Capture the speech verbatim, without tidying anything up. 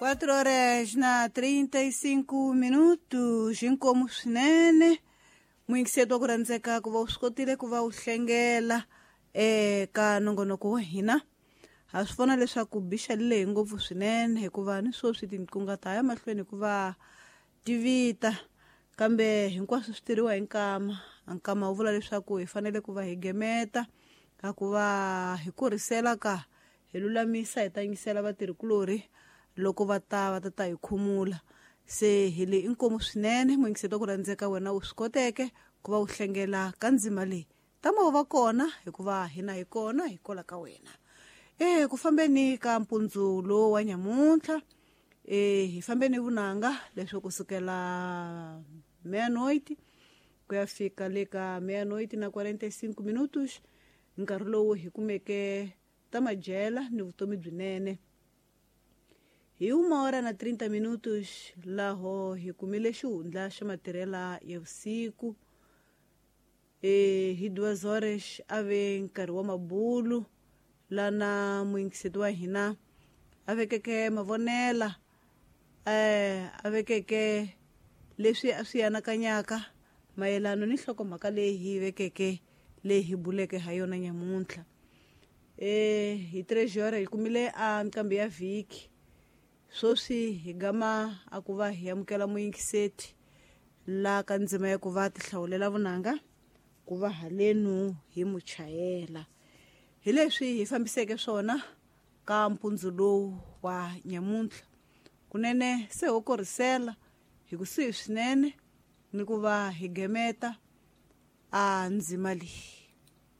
quatro horas na trinta e cinco minutos, inkomu swinene. Muyingiseri wa ku rhandzeka ku va u swi kotile ku va u hlengela eka nongonoko wa hina. Ha swi vona leswaku bixa leyi ngopfu swinene hikuva ni sweswi tinqingho ta ya mahlweni hikuva ti vita, kambe hinkwaswo swi tirhiwa hi nkama. Nkama wu vula leswaku hi fanele ku va hi gemeta ka ku va hi kurisela ka hi lulamisa hi tangisela vatirhikulorhi loko va ta va ta ta hi khumula. Se hi le inkomu swinene muyingiseri wa ku rhandzeka wena u swi koteke ku va u hlengela ka ndzima leyi. Tama u va kona hikuva hina hi kona hi kola ka wena. E ku fambeni ka mpundzu lowu wa nyamuntlha, e hi fambeni vunanga leswi kusukela meia-noite ku ya fika le ka meia-noite na quarenta e cinco minutos, nkarhi lowu hi kumeke ta madyela ni vutomi byinene. Hi uma hora na trinta minutos laho hi kumile xihundla xa matirhela ya vusiku. E hi duas horas a ve nkarhi wa mabulu lana muyingiseri wa hina a vekeke mavonela, eh a vekeke leswi a swi anakanyaka mayelana ni nhlokomhaka leyi hi vekeke leyi hi buleke ha yona nyamuntlha. E hi três horas hi kumile a nqambi ya vhiki. Sweswi hi gama a ku va hi amukela muyingiseti la ka ndzima ya ku va tihlawulela vunanga ku va halenu hi muchayela. Hi leswi hi fambiseke swona ka mpundzu lowu wa nyamuntlha. Kunene se ho korisela hi kusuhi swinene ni ku va hi gemeta a ndzima leyi.